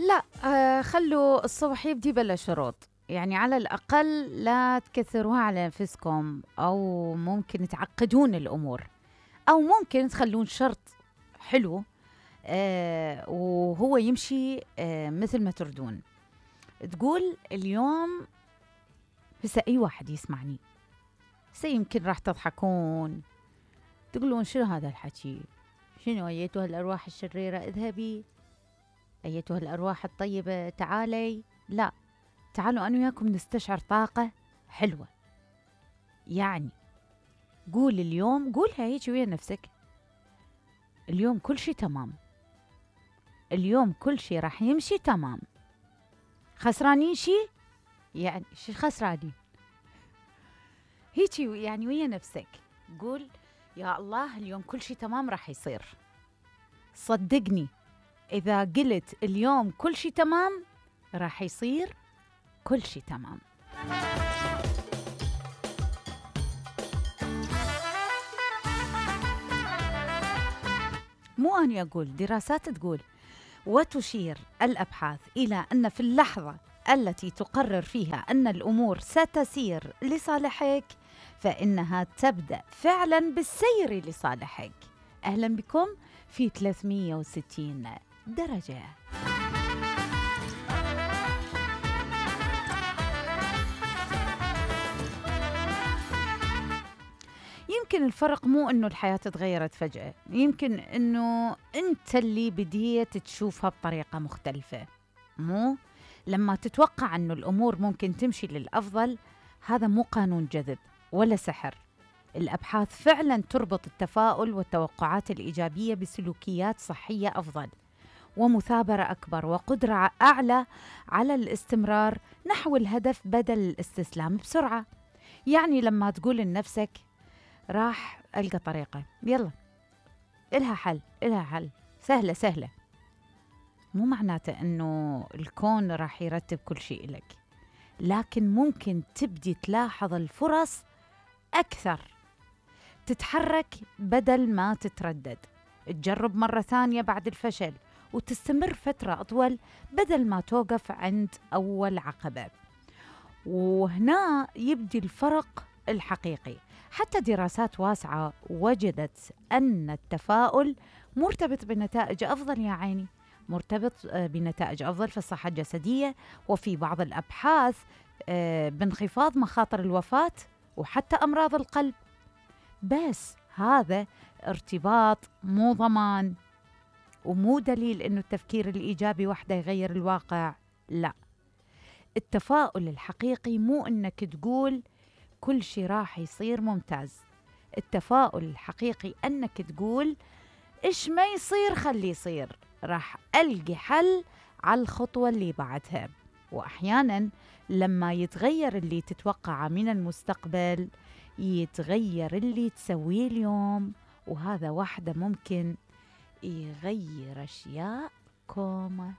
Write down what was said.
لا. خلوا الصبح يبدي بلا شروط، يعني على الأقل لا تكثروها على نفسكم، أو ممكن تعقدون الأمور، أو ممكن تخلون شرط حلو وهو يمشي مثل ما تردون. تقول اليوم، هسه أي واحد يسمعني يمكن راح تضحكون، تقولون شنو هذا الحكي؟ شنو أيتها الأرواح الشريرة اذهبي، أيتها الأرواح الطيبة تعالي. لا، تعالوا أنا وياكم نستشعر طاقة حلوة. يعني قول اليوم، قولها هيك ويا نفسك، اليوم كل شي تمام، اليوم كل شي راح يمشي تمام. خسرانين شي؟ يعني شي خسرانين؟ هيك يعني ويا نفسك قول يا الله اليوم كل شي تمام راح يصير. صدقني إذا قلت اليوم كل شي تمام راح يصير كل شي تمام. مو أنا أقول، دراسات تقول، وتشير الأبحاث إلى أن في اللحظة التي تقرر فيها أن الأمور ستسير لصالحك فإنها تبدأ فعلا بالسير لصالحك. أهلا بكم في 360 درجة. يمكن الفرق مو إنه الحياة تغيرت فجأة، يمكن إنه أنت اللي بديت تشوفها بطريقة مختلفة. مو لما تتوقع إنه الأمور ممكن تمشي للأفضل، هذا مو قانون جذب ولا سحر. الأبحاث فعلا تربط التفاؤل والتوقعات الإيجابية بسلوكيات صحية أفضل، ومثابرة أكبر، وقدرة أعلى على الاستمرار نحو الهدف بدل الاستسلام بسرعة. يعني لما تقول لنفسك راح ألقى طريقة، يلا إلها حل، إلها حل، سهلة سهلة، مو معناته أنه الكون راح يرتب كل شيء لك، لكن ممكن تبدي تلاحظ الفرص أكثر، تتحرك بدل ما تتردد، تجرب مرة ثانية بعد الفشل، وتستمر فترة أطول بدل ما توقف عند أول عقبة. وهنا يبدي الفرق الحقيقي. حتى دراسات واسعة وجدت أن التفاؤل مرتبط بنتائج أفضل، يا عيني مرتبط بنتائج أفضل في الصحة الجسدية، وفي بعض الأبحاث بانخفاض مخاطر الوفاة وحتى أمراض القلب. بس هذا ارتباط مو ضمان، ومو دليل إنه التفكير الإيجابي وحده يغير الواقع. لا، التفاؤل الحقيقي مو إنك تقول كل شي راح يصير ممتاز. التفاؤل الحقيقي أنك تقول إيش ما يصير خلي يصير، راح ألقي حل على الخطوة اللي بعدها. وأحيانا لما يتغير اللي تتوقعه من المستقبل، يتغير اللي تسويه اليوم، وهذا واحدة ممكن يغير أشياء كومة.